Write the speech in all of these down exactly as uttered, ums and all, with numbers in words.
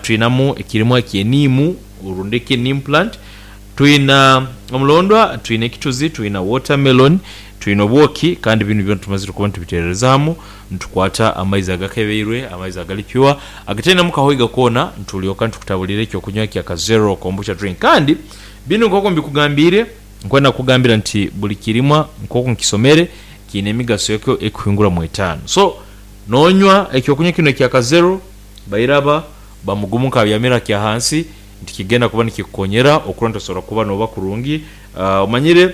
Twinamu ekirimwa eky'eniimu rundi eki neem plant, twina omulondwa, twina ekituzi, twina watermelon, twina obwoki. Kandi binu byona tumazire kuba nitubiterereza hamu nitukwata amaizi agakebeirwe, amaizi agali pure agatainemu kahoiga koona, nitulyoka nitukutabulira ekyokunywa ekya Kazero Kombucha drink. Kandi binu nk'oku mbikugambiire, nkwenda kukugambira nti buli kirimwa nk'oku nkisomere kiine emigaso yakyo ekuhingura mu etaano. So nonywa ekyokunywa kinu ekya Kazero, bairaba bamugumu nkabyamire akyahansi nti kigenda kuba nikikukonyera okurora nti osobola kuba noba kurungi. Omanyire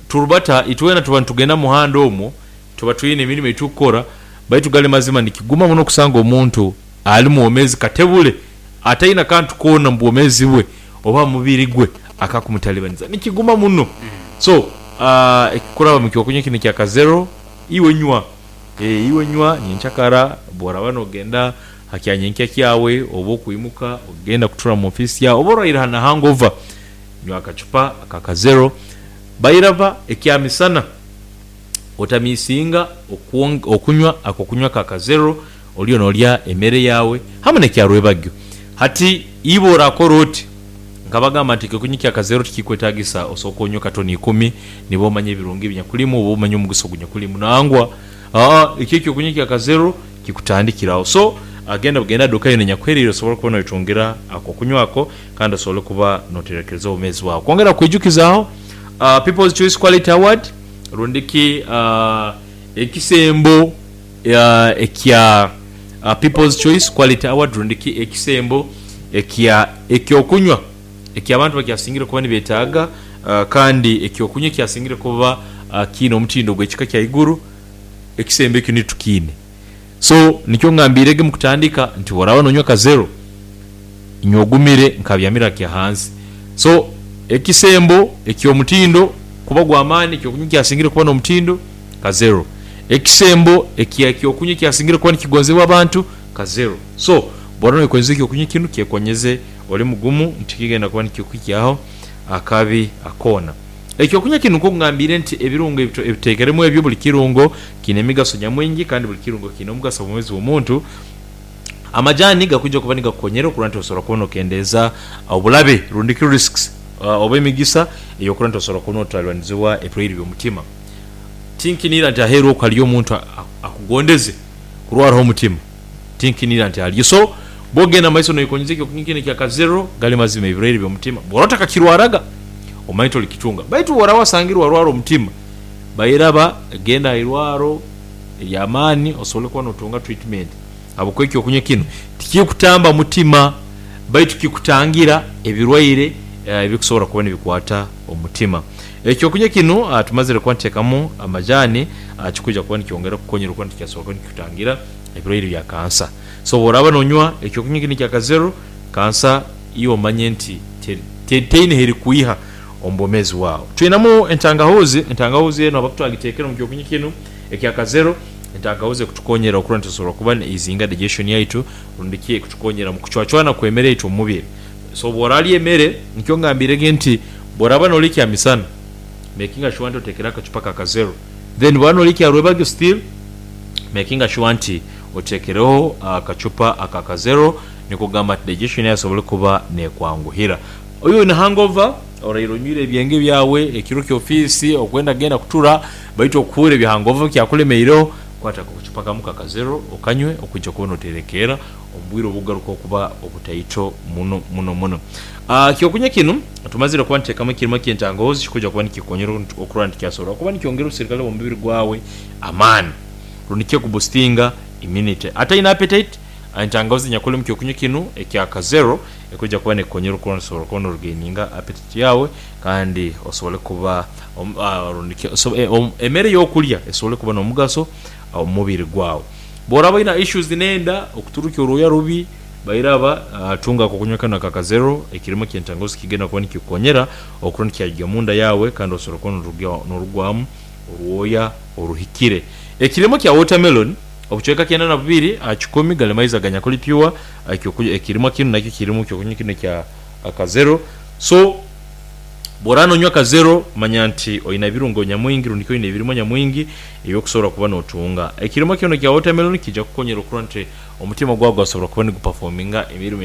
turubata itwena tuba nitugenda mumuhanda omwo, tuba twine emirimo ejitukukora, baitu gali mazima nikiguma muno okusanga omuntu ali mwomezi katebule ataine kantu koona omubwomezi bwe oba omubiri gwe akakumutalibaniza, nikiguma muno. So kuraba mukyokunywa kinu ekya Kazero, iwe nywa, iwe nywa nyenkyakara bworaba nogenda hakyanyenkya kyawe oba okwimuka ogenda kutura mu ofiisi yawe oba orwaire na hangova, nywa akacupa aka Kazero. Bairaba ekyamisana otamisinga okunywa akokunywa aka Kazero oliyo nolya emere yawe hamu nekyarwebagyo. Hati iwe orakora oti, nkabagamba nti ekyokunywa ekya Kazero tikikwetagisa osooke onywe katoni ikumi nibwo omanye ebirungi ebinyakulimu oba omanye omugaso ogunyakulimu, nangwa aa ekyo ekyokunywa ekya Kazero kikutandikira agho. So genda bugenda aduka yoona enyakuhereire osobole okuba nowetungira akokunywa ako kandi osobole okuba noterekereza obwomezi bwawe. Kwongera kwijukiza agho, People's Choice Quality Award rundiki ekisembo ekya People's Choice Quality Award rundiki ekisembo ekya ekyokunywa eky'abantu bakyasingire kuba nibetaaga kandi ekyokunywa ekyasingire kuba kiine omutindo ogw'ekika kyaiguru, ekisembo ekyo niitwe tukiine. So nikyo ngambiirege mukutandika nti bworaba nonywa Kazero, nywa ogumire nkabyamire akyahansi. So ekisembo eky'omutindo kuba gw'amaani, ekyokunywa ekyasingire kuba n'omutindo Kazero. Ekisembo ekya ekyokunywa ekyasingire kuba nikigonzebwa abantu Kazero. So bworaba noweikonyeza ekyokunywa kinu, kyekonyeze oli mugumu nti kigenda kuba nikikuhikyaho akabi koona. Ekyokunywa kinu nkoku ngambiire nti ebirungo ebitekeiremu ebyo, buli kirungo kiine emigaso nyamwingi kandi buli kirungo kiine omugaso omubwomezi bw'omuntu. Amajani gakwija kuba nigakukonyera okurora nti osobola kuba nokendeeza obulabe rundiki risks oba emigisa eyokurora nti osobola kuba notalibanizibwa ebirwaire by'omutima. Tinkiniira nti aheeru okwo haliyo omuntu akugondeze kurwaraho omutima, tinkiniira nti aliyo. So bwogenda mumaiso noikonyeza ekyokunywa kinu ekya Kazero, gali mazima ebirwaire by'omutima bworaba otakakirwaraga omanye tolikitunga, baitu bworaba wasangire warwara omutima, bairaba genda ahairwaro ery'amaani osobole kuba notunga treatment, habwokuba ekyokunywa kinu tikikutamba mutima baitu kikutangira ebirwaire ebikusobola kuba nibikwata omutima. Ekyokunywa kinu tumazire kuba nituteekamu amajani, kikwija kuba nikyongera okukonyera okuba nti kyasobola kuba nikikutangira ebirwaire bya kansa. So bworaba nonywa ekyokunywa kinu ekya Kazero, kansa iwe omanye nti teine herikwiha omu bwomezi bwawe. Twinamu entangahuzi, entangahuzi enu habwaki twagitekere omu kyokunywa kinu ekya Kazero, entangahuzi ekutukonyera okurora nti tusobola kuba ne-easinga digestion yaitu rundi ki ekutukonyera omu kucwacwana kw'emere yaitu omu mubiri. So bworalya emere, nikyo ngambirege nti bworaba nolya ekyamisana, makinga sure nti otekereho akacupa ka Kazero, then bworaba nolya ekyarwebagyo still makinga sure nti otekereho akacupa aka Kazero nikwo kugamba nti digestion yawe esobole kuba nekwanguhira. Oiwe oine hangover, oraire onywire ebyenge byawe ekiro ky'ofiisi okwenda kugenda kutura baitu okuhura ebya hangover bikyakulemeireho, kwata akacupa kamu aka Kazero okanywe okwija kuba noterekerra omu bwire obukugaruka okuba obutaito muno muno muno. Ekyokunywa kinu tumazire kuba nituteekamu ekirimu eky'entangahuzi kikwija kuba nikikukonyera okurora nti kyasobora kuba nikyongera obuserikale bw'omubiri gwawe amaani rundi ki ekubustinga immunity. Ataine appetite, entangahuzi enyakuli omu kyokunywa kinu ekya Kazero ekwija kuba nekukonyera okurora nti osobola kuba norugaininga appetite yawe kandi osobole kuba rundi ki emere eyokulya esobole kuba n'omugaso omu mubiri gwawe. Bworaba oine issues n'enda, okuturukya orwoya rubi, bairaba tunga akokunywa kanu aka Kazero ekirimu eky'entangahuzi kigenda kuba nikikukonyera okurora nti kyagya munda yawe kandi osobola kuba norugwamu orwoya oruhikire. Ekirimu kya watermelon obucweka kyenda na bubiri aha kikumi gali maizi aganyakuli pure, ekirimwa kinu nakyo kirimu kyokunywa kinu ekya Kazero. So bworaba nonywa Kazero manya nti oine ebirungo nyamwingi rundi ki oine ebirimwa nyamwingi ebyokusobora kuba notunga. Ekirimwa kinu ekya watermelon kiija kukukonyera okurora nti omutima gwawe gwasobora kuba nigupafominga emirimo.